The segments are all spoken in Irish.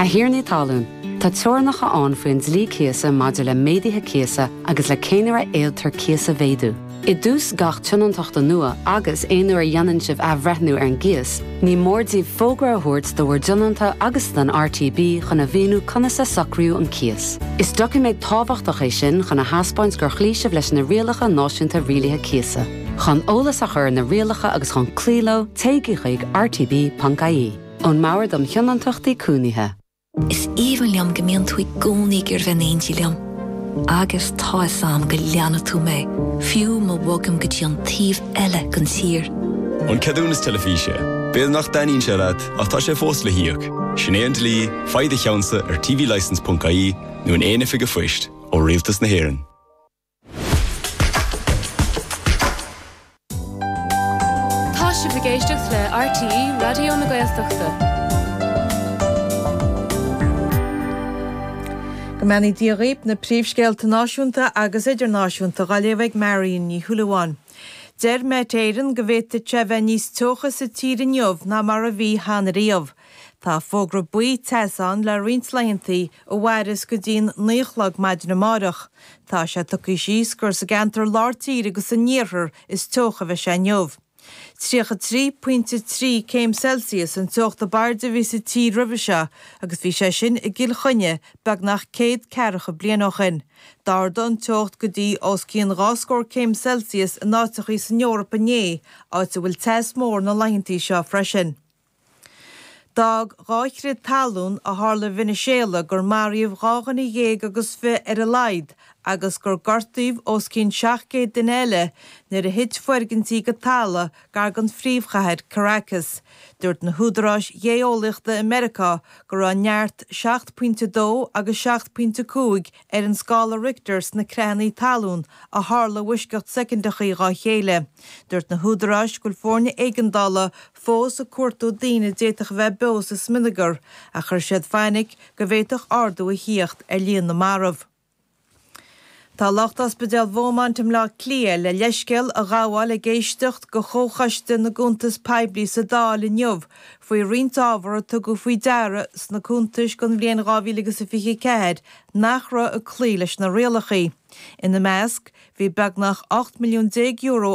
A thiarnaí talún, tá teorainneacha ann faoin dlí cíosa maidir le méaduithe cíosa agus le cén uair a fhéadtar cíos a mhéadú. I dtús gach tionóntachta nua agus aon uair a dhéanann sibh athbhreithniú ar an gcíos, ní mór daoibh fógra a thabhairt do bhur dtionónta agus don RTB chun a mhíniú conas a socraíodh an cíos. Is doiciméad tábhachtach é sin chun a thaispeáint gur chloígh sibh leis na rialacha náisiúnta rialaithe cíosa. Chun eolas a chur ar na rialacha agus chun cloí leo, téigí chuig rtb.ie. Ón mBord um Thionóntachtaí Cónaithe. Is aoibhinn liom go mbíonn tú i gcónaí ag iarraidh bheith in éindí liom. Agus tá 'fhios a'm go leanfaidh tú mé, fiú má bhogaim go dtí an taobh eile den tír. An ceadúnas teilifíse. B'fhéidir nach dtaitníonn sé leat, ach tá sé fós le híoc. Sin é an dlí, faigh do cheannsa ar tvlicence.ie nó in aon oifig an phoist, ó Rialtas na hÉireann. Tá sibh ag éisteacht le RTÉ Raidió na Gaeltachta. Go mbeannaí Dia dhaoib, na príomhscéalta náisiúnta agus idirnáisiúnta dhá léamh ag Marion Ní Shúilleabháin. Deir Met Éireann go bhféadfadh sé bheith níos teocha sa tír inniu ná mar a bhí cheana riamh. Tá fógra buí teasa ann le roinnt laethantaí a mhairfeas go dtí'n 9 a chlog maidin amáireach. Tá sé tugtha síos gur sa gceantar lár tíre agus san iarthar is teocha a bheidh sé inniu. 33 pointe 3 céim Celsius an teocht ab airde a bhí sa tír roimhe seo agus bhí sé sin i gCill Chainnigh beagnach céad ceathracha bliain ó shin. D'ardaigh an teocht go dtí os cionn dhá scór céim Celsius in áiteachaí san Eoraip inné, áit a bhfuil teas mór na laethantaí seo freisin. D'fhág 2 chrith talún a tharla i Veiniséala gur maraíodh 12 dhuine agus 20 ar a laghad agus gur gortaíodh os cionn 700 duine eile nuair a thit foirgintí go talamh gar don phríomhchathair Caracas. Dúirt na húdaráis ghéeolaíochta i Meiriceá go raibh neart 7.2 agus 7.5 ar an scála Richter sna creathanna talún a tharla i bhfoisceacht soicindeachaí dhá chéile. Dúirt na húdaráis go bhfuil foirne éigeandála fós ag cuartú daoine a d'fhéadfadh a bheith beo sa smionagar, ach chuir siad fainic go bhféadfadh ardú a thíocht ar líon na marbh. Tá lucht Ospidéal Bheaumont i mBleá Cliath le leithscéal a ghabháil ag éisteacht go Chomhchoiste na gCuntas Poiblí sa Dáil inniu faoi roinnt ábhar a tugadh faoi deara sna cuntais don bhliain 2024 nach raibh ag cloí leis na rialacha. Ina measc, Bhí beagnach €18 milliún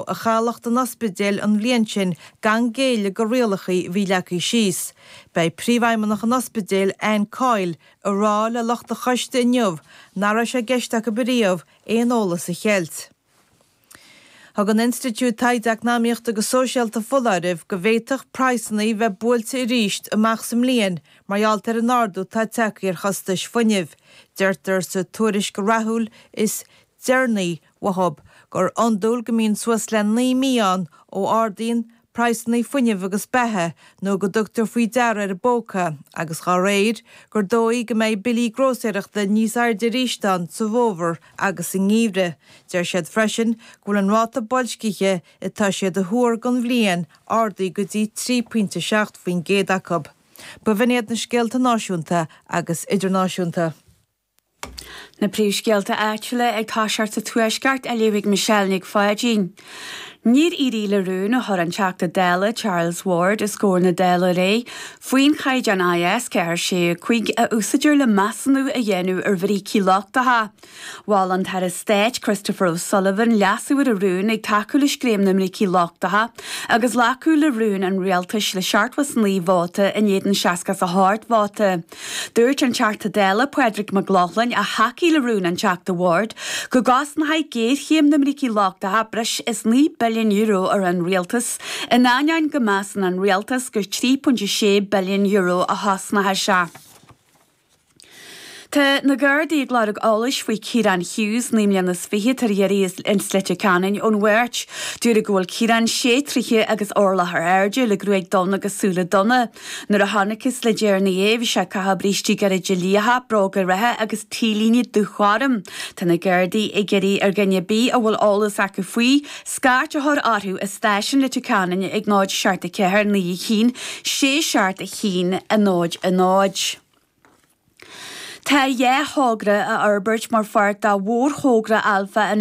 a chailleadh don ospidéal an bhliain sin gan géilleadh go rialacha a bhí leagtha síos. Beidh príomhfheidhmeannach an ospidéil, Anne Coyle, ag rá le lucht an choiste inniu nach raibh sé i gceist acu ariamh aon eolas a cheilt. Thug an Institiúid Taighde Eacnamaíochta agus Sóisialta foláireamh go bhféadfadh praghsanna bheith buailte arís amach sa mbliain mar gheall ar an ardú atá tagtha ar chostais fuinnimh. Deirtear sa tuairisc rathúil is deireanaí uathub gur iondúil go mbíonn suas le 9 mí ann ó ardaíonn praghsanna fuinnimh agus beatha nó go dtugtar faoi deara ar an bpóca agus dá réir gur dóigh go mbeidh billí grósaeireachta níos airde arís ann sa bhfómhar agus sa ngeimhreadh. Deir siad freisin go bhfuil an ráta boilscithe atá siad a thuar don bhliain ardaithe go dtí 3.7% acu. B'in iad na scéalta náisiúnta agus idirnáisiúnta. Na príomhscéalta áitiúla ag toiseacht sa Tuaisceart á léamh ag Michelle Nic Pháidín. Níor éirigh le rún a chuir an Teachta Dála Charles Ward os comhair na Dála aréir faoin chaighdeán IS 4 6 5 a úsáidtear le measúnú a dhéanamh ar bhrící lochtacha. Mhol an tAire Stáit Christopher O'Sullivan leasú ar an rún ag tacú le scéim na mbrící lochtacha agus glacadh le rún an Rialtais le 79 vóta in éadan 68 vóta. Dúirt an Teachta Dála Pádraig Mac Lochlainn, a thacaigh le rún an Teachta Ward, go gcosnóidh géarchéim na mbrící lochtacha breis is €9 billiún ar an rialtas, in ainneoin go measann an rialtas gur €3.6 billiún a chosnóidh sé. Tá na Gardaí ag lorg eolais faoi Ciarán Hughes, 29 mbliana, atá ar iarraidh as Leitir Ceanainn ón Mháirt. Dúradh go bhfuil Ciarán sé troithe agus orlach ar airde, le gruaig donn agus súile donna. Nuair a chonacthas le deireanaí é, bhí sé ag caitheamh brístí gairide liatha, bróga reatha agus t-léine dúghorm. Tá na Gardaí ag iarraidh ar dhuine ar bith a bhfuil eolas acu faoi, scairt a chur orthu i stáisiún Leitir Ceanainn ag 0 7 4 9 1 6 7 1 0 0. Tá dhá thogra á fhorbairt mar pháirt de mhórthogra Alpha an.